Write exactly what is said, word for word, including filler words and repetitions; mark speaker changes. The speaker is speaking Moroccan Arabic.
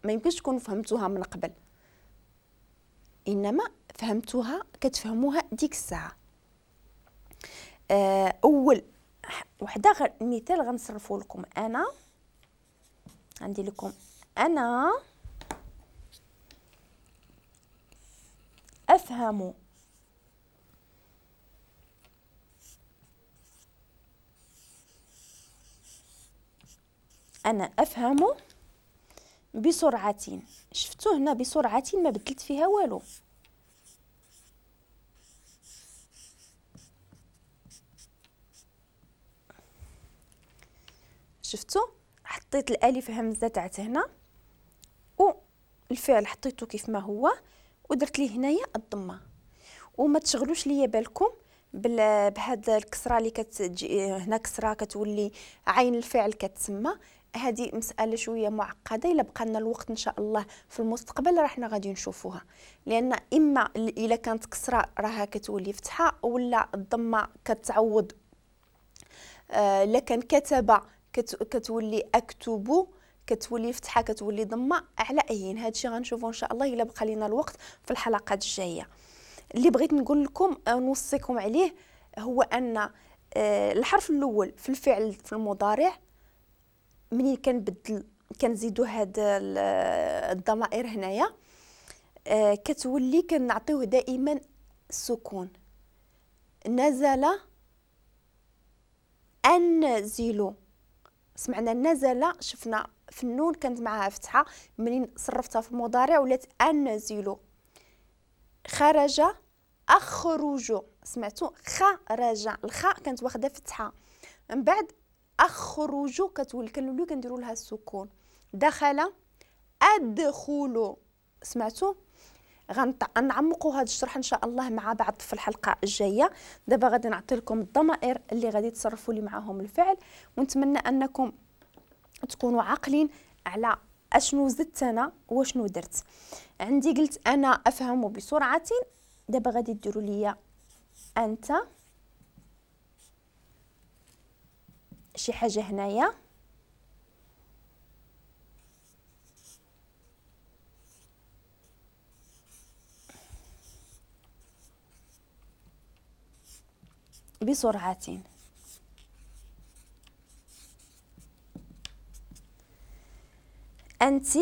Speaker 1: ما يمكنش تكونوا فهمتوها من قبل، انما فهمتوها كتفهموها ديك الساعة. اول وحده غ... مثال غنصرفو لكم. انا عندي لكم انا افهم انا افهم بسرعة. شفتو هنا بسرعة ما بدلت فيها والو. شفتو حطيت الالف همزه تاعت هنا والفعل حطيته كيف ما هو ودرت ليه هنايا الضمة. وما تشغلوش ليا بالكم بهاد الكسرة اللي كتجي هنا، كسره كتولي عين الفعل كتسمى. هذه مسالة شوية معقدة، الا بقى لنا الوقت ان شاء الله في المستقبل راه حنا غادي نشوفوها، لان اما الا كانت كسره راها كتولي فتحه، ولا الضمة كتعوض آه الا كان كتب كتولي اكتب، كتولي فتحه كتولي ضمه. على ايين هادشي غنشوفو ان شاء الله الا بقى لينا الوقت في الحلقات الجاية. اللي بغيت نقول لكم نوصيكم عليه هو ان الحرف الاول في الفعل في المضارع منين كنبدل كنزيدو هاد الضمائر هنايا كتولي كنعطيوه دائما السكون. نزل انزل، سمعنا نزل، شفنا في النون كانت معها فتحه، منين صرفتها في المضارع ولات انزل. خرج اخرج، سمعتوا خرج، الخاء كانت واخده فتحه، من بعد اخرج كتولي كنوليو كنديروا لها السكون. دخل ادخل، سمعتوا؟ غنعمقوا هذا الشرح ان شاء الله مع بعض في الحلقة الجاية. دابا غادي نعطي لكم الضمائر اللي غادي تصرفوا لي معاهم الفعل، ونتمنى انكم تكونوا عاقلين على اشنو زدت انا واشنو درت. عندي قلت انا افهم بسرعة، دابا غادي ديروا لي انت شي حاجة هنايا، بسرعة. أنت